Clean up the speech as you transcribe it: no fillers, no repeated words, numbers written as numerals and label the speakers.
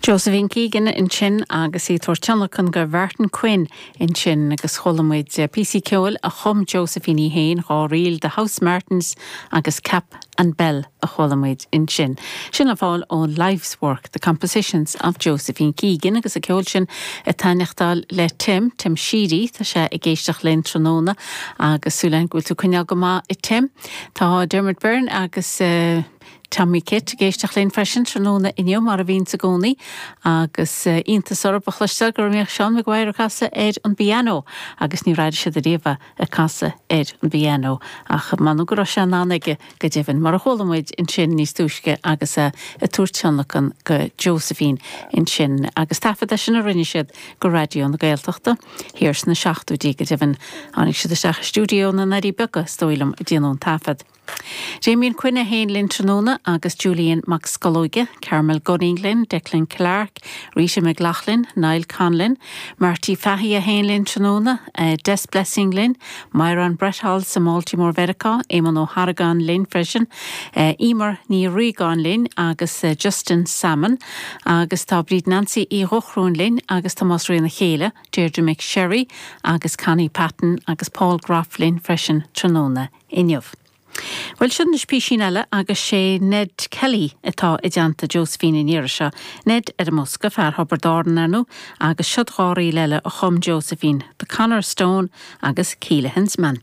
Speaker 1: Josephine Keegan ansin agus í ag tabhairt tionlacan go Mhartin Quinn ansin agus chuala muid píosaí ceoil a chum Josephine í féin, 2 ríl, The House Martins agus Cap and Bell a chuala muid ansin. Sin le fáil ón Life's Work, The Compositions of Josephine Keegan agus an ceol sin ag taitneachtáil le Tim, Tim Sheedy, tá sé ag éisteacht linn tráthnóna agus súil againn go bhfuil tú ag coinneáil go maith a Tim. Tá Dermot Byrne agus. Tommy Kitt ag éisteacht linn freisin tráthnóna inniu, mar a bhíonns i gcónaí, agus iontas orthu a chloisteáil go mbíodh Seán Maguire ag casadh ar an bpianó, agus níor airigh siad ariamh é ag casadh ar an bpianó, ach m'anam go raibh sé in ann aige go deimhin, mar a chuala muid ansin níos túisce agus é ag tabhairt tionlacan go Josephine ansin, agus taifead é sin a rinne siad go Raidió na Gaeltachta thiar sna seachtóidí, go deimhin tháinig siad isteach i stiúideo na nDoirí Beaga, is dóigh liom, ag déanamh an taifead. Damien Quinn é féin linn tráthnóna agus Julian Mac Scolóige, Carmel Gunning linn, Declan Clarke, Rita McLaughlin, Niall Conlon, Marty Fahey é féin linn tráthnóna, Des Blessing linn, Myron Bretholz i mBaltimore Mheiriceá, Éamonn Ó hArgáin linn freisin, Emer Ní Riagáin linn agus Justin Salmon agus tá Bríd Nancy Uí Dhochrúin linn agus Tomás Ríona Chéile, Deirdre McSherry agus Connie Patton agus Paul Groff linn freisin tráthnóna. inniu. Bhuel, seo anois písín eile agus sé Ned Kelly atá i dteannta Josephine an iarraidh seo. Ned ar an mbosca, fear Thiobraid Árann, ar ndóigh, agus siod 2 ríl eile a chum Josephine, The Connor Stone agus Keelaghan's Mantra.